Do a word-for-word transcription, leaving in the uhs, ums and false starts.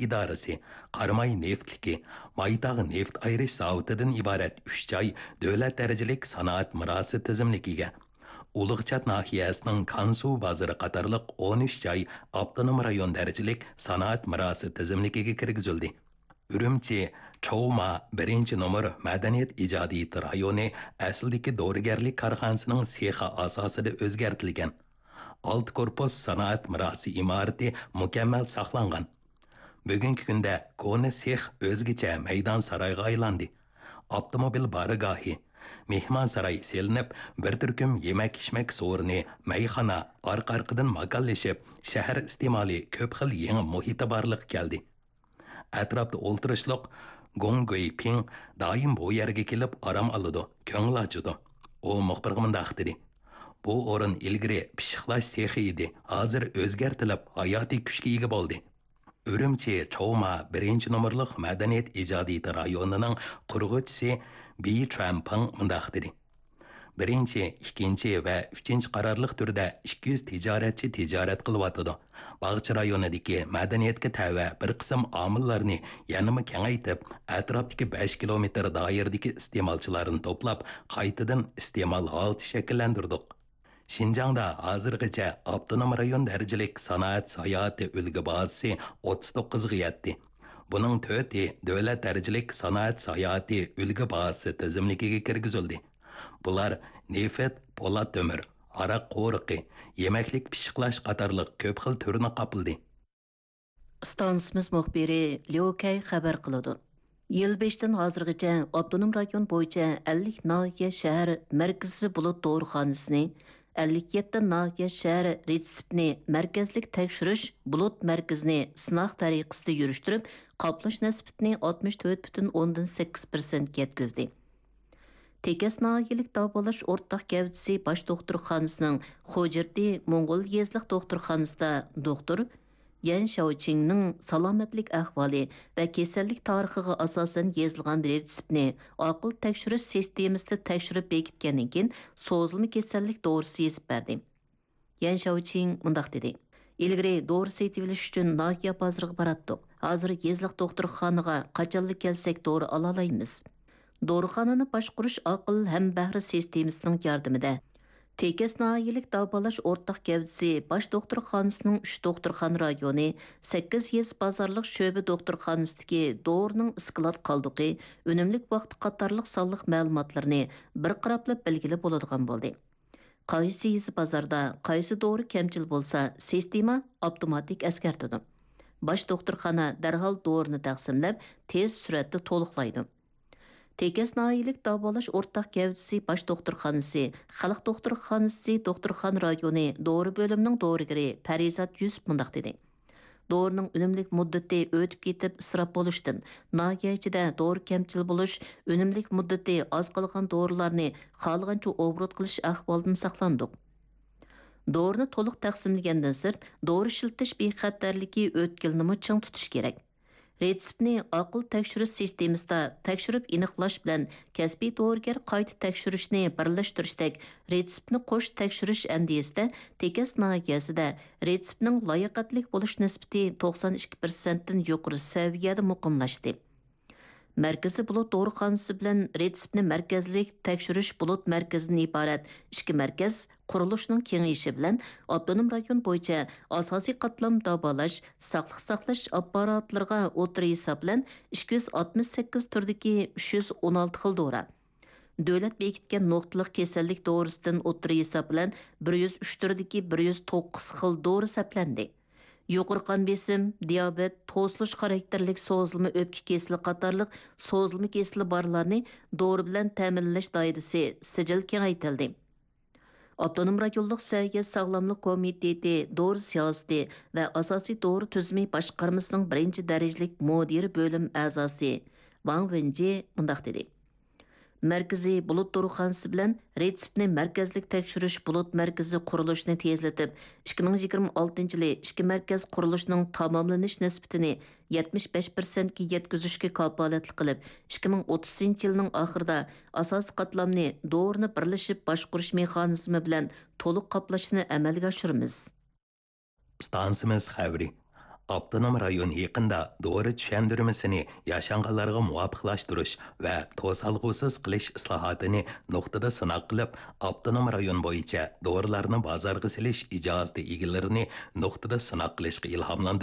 ئىدارىسى، قاراماي نېفىتلىكى، مايتاغ نېفىت ئايرىش زاۋۇتىدىن ئىبارەت ئۈچ جاي دۆلەت دەرىجىلىك سانائەت مىراسى تىزىملىكىگە، ئۇلۇغچات ناھىيەسىنىڭ كانسۇ بازىرى قاتارلىق ئون ئۈچ جاي ئاپتونوم رايون دەرىجىلىك سانائەت مىراسى تىزىملىكىگە كىرگۈزۈلدى. ئۈرۈمچى چاۋما بىرىنچى نومۇر مەدەنىيەت ئىجادىيىتى رايونى ئەسلىدىكى دورىگەرلىك كارخانىسىنىڭ سېخى ئاساسىدا ئۆزگەرتىلگەن. ئالتە كورپۇس سانائەت مىراسى ئىمارىتى مۇكەممەل ساقلانغان. بۈگۈنكى كۈندە كونا سېخ ئۆزگىچە مەيدان سارايغا ئايلاندى. ئاپتوموبىل بارگاھى، مېھمانساراي سېلىنىپ، بىر تۈركۈم يېمەك-ئىچمەك سورۇنى، مەيخانا ئارقا-ئارقىدىن ماكانلىشىپ، شەھەر ئىستېمالى كۆپ خىل يېڭى مۇھىتى بارلىققا كەلدى. ئەتراپتا ئولتۇرۇشلۇق گوڭ گۇيپىڭ دائىم بۇ يەرگە كېلىپ ئارام ئالىدۇ، كۆڭۈل ئاچىدۇ. ئۇ مۇخبىرغا مۇنداق دېدى: «بۇ ئورۇن ئىلگىرى پىششىقلاش سېخى ئىدى، ھازىر ئۆزگەرتىلىپ، ھاياتىي كۈچكە ئىگە بولدى.» ئۈرۈمچى چاۋما بىرىنچى نومۇرلۇق مەدەنىيەت ئىجادىيىتى رايونىنىڭ قۇرغۇچىسى بى چۈەنپىڭ مۇنداق دېدى: «بىرىنچى، ئىككىنچى ۋە ئۈچىنچى قارارلىق تۈردە ئىككى يۈز تىجارەتچى تىجارەت قىلىۋاتىدۇ. باغچە رايونىدىكى مەدەنىيەتكە تەۋە بىر قىسىم ئامىللارنى يەنىمۇ كېڭەيتىپ، ئەتراپتىكى بەش كىلومېتىر دائىرىدىكى ئىستېمالچىلارنى توپلاپ، قايتىدىن ئىستېمال ھالىتى شەكىللەندۈردۇق.» شىنجاڭدا ھازىرغىچە ئاپتونوم رايون دەرىجىلىك سانائەت ساياھىتى ئۈلگە بازىسى ئوتتۇز توققۇزغا يەتتى. بۇنىڭ تۆتى دۆلەت دەرىجىلىك سانائەت ساياھىتى ئۈلگە بازىسى تىزىملىكىگە كىرگۈزۈلدى. بۇلار نېفىت، پولات تۆمۈر، ھاراق قورۇقى، يېمەكلىك پىششىقلاش قاتارلىق كۆپ خىل تۈرنى قاپلىدى. ئىستانسىمىز مۇخبىرى ليۇ كەي خەۋەر قىلىدۇ. يىل بېشىدىن ھازىرغىچە ئاپتونوم رايون بويىچە ئەللىك ناھىيە شەھەر مەركىزىي بۇلۇت دورىخانىسىنى، ئەللىك يەتتە ناھىيە شەھەر رېتسېپنى مەركەزلىك تەكشۈرۈش بۇلۇت مەركىزىنى سىناق تەرىقىسىدە يۈرۈشتۈرۈپ، قاپلاش نىسبىتىنى ئاتمىش تۆت پۈتۈن ئوندىن سەككىز پىرسەنتكە يەتكۈزدى. تېكەس ناھىيەلىك داۋالاش ئورتاق گەۋدىسى باش دوختۇرخانىسىنىڭ خوجىرتى موڭغۇل يېزىلىق دوختۇرخانىسىدا دوختۇر يەن شياۋچىڭنىڭ سالامەتلىك ئەھۋالى ۋە كېسەللىك تارىخىغا ئاساسەن يېزىلغان رېتسېپنى ئاقىل تەكشۈرۈش سىستېمىسىدا تەكشۈرۈپ بېكىتكەندىن كېيىن، سوزۇلما كېسەللىك دورىسى يېزىپ بەردى. يەن شياۋچىڭ مۇنداق دېدى: «ئىلگىرى دورا سېتىۋېلىش ئۈچۈن ناھىيە بازىرىغا باراتتۇق. ھازىر يېزىلىق دوختۇرخانىغا قاچانلا كەلسەك دورا ئالالايمىز.» دورىخانىنى باشقۇرۇش ئاقىل ھەمبەھرە سىستېمىسىنىڭ ياردىمىدە، تېكەس ناھىيەلىك داۋالاش ئورتاق گەۋدىسى باش دوختۇرخانىسىنىڭ ئۈچ دوختۇرخانا رايونى، سەككىز يېزا بازارلىق شۆبە دوختۇرخانىسىدىكى دورىنىڭ ئىسكىلات قالدۇقى، ئۈنۈملۈك ۋاقتى قاتارلىق سانلىق مەلۇماتلىرىنى بىر قاراپلا بىلگىلى بولىدىغان بولدى. قايسى يېزا بازاردا قايسى دورا كەمچىل بولسا، سىستېما ئاپتوماتىك ئەسكەرتىدۇ. باش دوختۇرخانا دەرھال دورىنى تەقسىملەپ، تېز سۈرئەتتە تولۇقلايدۇ. تېكەس ناھىيەلىك داۋالاش ئورتاق گەۋدىسى باش دوختۇرخانىسى، خەلق دوختۇرخانىسى دوختۇرخانا رايونى دورا بۆلۈمىنىڭ دورىگىرى پەرىزات يۈسۈپ مۇنداق دېدى: «دورىنىڭ ئۈنۈملۈك مۇددىتى ئۆتۈپ كېتىپ ئىسراپ بولۇشتىن، ناھىيە ئىچىدە دورا كەمچىل بولۇش، ئۈنۈملۈك مۇددىتى ئاز قالغان دورىلارنى خالىغانچە ئوبوروت قىلىش ئەھۋالىدىن ساقلاندۇق.» دورىنى تولۇق تەقسىملىگەندىن سىرت، دورا ئىشلىتىش بىخەتەرلىكى ئۆتكىلىنىمۇ چىڭ تۇتۇش كېرەك. رېتسېپنى ئاقىل تەكشۈرۈش سىستېمىسىدا تەكشۈرۈپ ئېنىقلاش بىلەن كەسپىي دورىگەر قايتا تەكشۈرۈشنى بىرلەشتۈرۈشتەك رېتسېپنى قوش تەكشۈرۈش ئەندىزىسىدە تېكەس ناھىيەسىدە رېتسېپنىڭ لاياقەتلىك بولۇش نىسبىتى توقسان ئىككى پىرسەنتتىن يۇقىرى سەۋىيەدە مۇقىملاشتى. مەركىزىي بۇلۇت دورىخانىسى بىلەن رېتسېپنى مەركەزلىك تەكشۈرۈش بۇلۇت مەركىزىدىن ئىبارەت ئىككى مەركەز قۇرۇلۇشىنىڭ كېڭىيىشى بىلەن ئاپتونوم رايون بويىچە ئاساسىي قاتلام داۋالاش، ساقلىق ساقلاش ئاپپاراتلىرىغا ئوتتۇرا ھېساب بىلەن ئىككى يۈز ئاتمىش سەككىز تۈردىكى ئۈچ يۈز ئون ئالتە خىل دورا، دۆلەت بېكىتكەن نۇقتىلىق كېسەللىك دورىسىدىن ئوتتۇرا ھېساب بىلەن بىر يۈز ئۈچ تۈردىكى بىر يۈز توققۇز خىل دورا سەپلەندى. يۇقىرى قان بېسىم، دىيابېت، توسۇلۇش خاراكتېرلىك سوزۇلما ئۆپكە كېسىلى قاتارلىق سوزۇلما كېسىلى بارلارنى دورا بىلەن تەمىنلەش دائىرىسى سىجىل كېڭەيتىلدى. ئاپتونوم رايونلۇق سەھىيە ساغلاملىق كومىتېتى دورا سىياسىتى ۋە ئاساسىي دورا تۈزۈمى باشقارمىسىنىڭ بىرىنچى دەرىجىلىك مۇدىر بۆلۈم ئەزاسى ۋاڭ ۋېنجى مۇنداق دېدى: مەركىزىي بۇلۇت دورىخانىسى بىلەن رېتسېپنى مەركەزلىك تەكشۈرۈش بۇلۇت مەركىزى قۇرۇلۇشىنى تېزلىتىپ، ئىككى مىڭ يىگىرمە ئالتىنچى يىلى ئىككى مەركەز قۇرۇلۇشىنىڭ تاماملىنىش نىسبىتىنى يەتمىش بەش پىرسەنتكە يەتكۈزۈشكە كاپالەتلىك قىلىپ، ئىككى مىڭ ئوتتۇزىنچى يىلنىڭ ئاخىرىدا ئاساسىي قاتلامنى دورىنى بىرلىشىپ باشقۇرۇش مېخانىزمى بىلەن تولۇق قاپلاشنى ئەمەلگە ئاشۇرىمىز. ئىستانسىمىز خەۋىرى. ئاپتونوم رايون يېقىندا دورا چۈشەندۈرمىسىنى ياشانغانلارغا مۇۋاپىقلاشتۇرۇش ۋە توسالغۇسىز قىلىش ئىسلاھاتىنى نۇقتىدا سىناق قىلىپ، ئاپتونوم رايون بويىچە دورىلارنى بازارغا سېلىش ئىجازىتى ئىگىلىرىنى نۇقتىدا سىناق قىلىشقا ئىلھاملاندۇرۇش